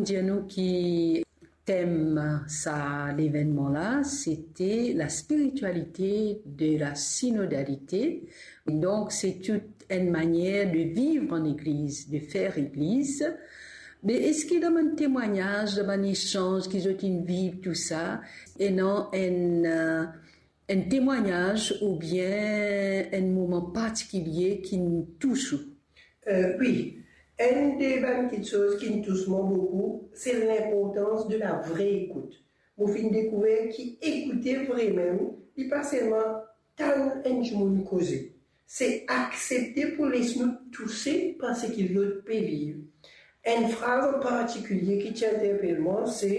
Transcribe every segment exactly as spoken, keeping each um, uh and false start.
Dir nou ki tem sa levennman la, sete la spiritualité de la synodalité. Donk, se tou enn manier de viv an legliz, de fer legliz. Me eski dan bann temwagnaz, dan bann esanz ki zot inn viv tou sa, ena enn, eh, enn temwagnaz oubien enn moman partikilie ki'nn tous ou? Eh, wi, enn de bann kiksoz ki'nn tous mwa boukou, se linportans de la vre ekout. Mo finn dekouver ki ekoute vre mem, li pa selman tann enn dimoun koze, se aksepte pou les nou touse par seki lot pe viv. Enn fraz an partikilie ki ti interpel mwa, se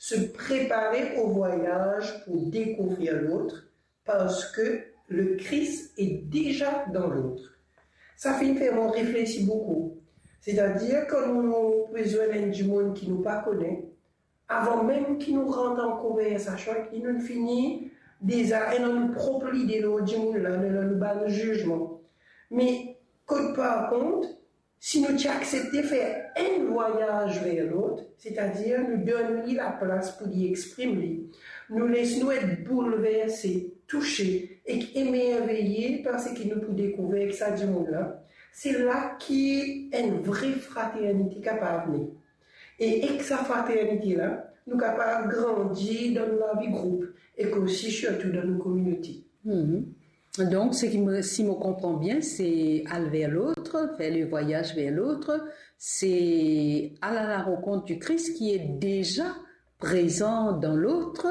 se préparer au voyage pour découvrir l'autre, parce que le Christ est déjà dans l'autre. Sa finn fer mwa reflesi boukou. Setadir, kan nou pe zwenn enn dimoun ki nou pa kone, avan mem ki nou rant an konversasion avek li, nou fini deza ena nou prop lide lor dimoun la, nou ena nou bann zizman. Me kot par kont, si nou ti aksepte fer enn vwayaz ver lot, setadir nou donn li laplas pou li exprim li, nou les nou et boulverse, touse ek emerveye par seki nou pou dekouver ek sa dimoun la, se la ki enn vre fraternite kapav ne. E ek sa fraternite la, nou kapav grandi dan nou lavi group ek osi sirtou dan nou kominote. Mhm. Donk, seki mo, si mo konpran bien, se al ver lot, fer le vwayaz ver lot, se al à la rencontre du Christ qui est déjà présent dans l'autre,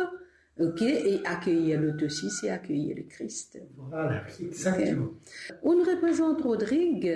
ok, et accueillir l'autre aussi, c'est accueillir le Christ. Voilà, exactement. Ok. Ou'nn reprezant Rodrig,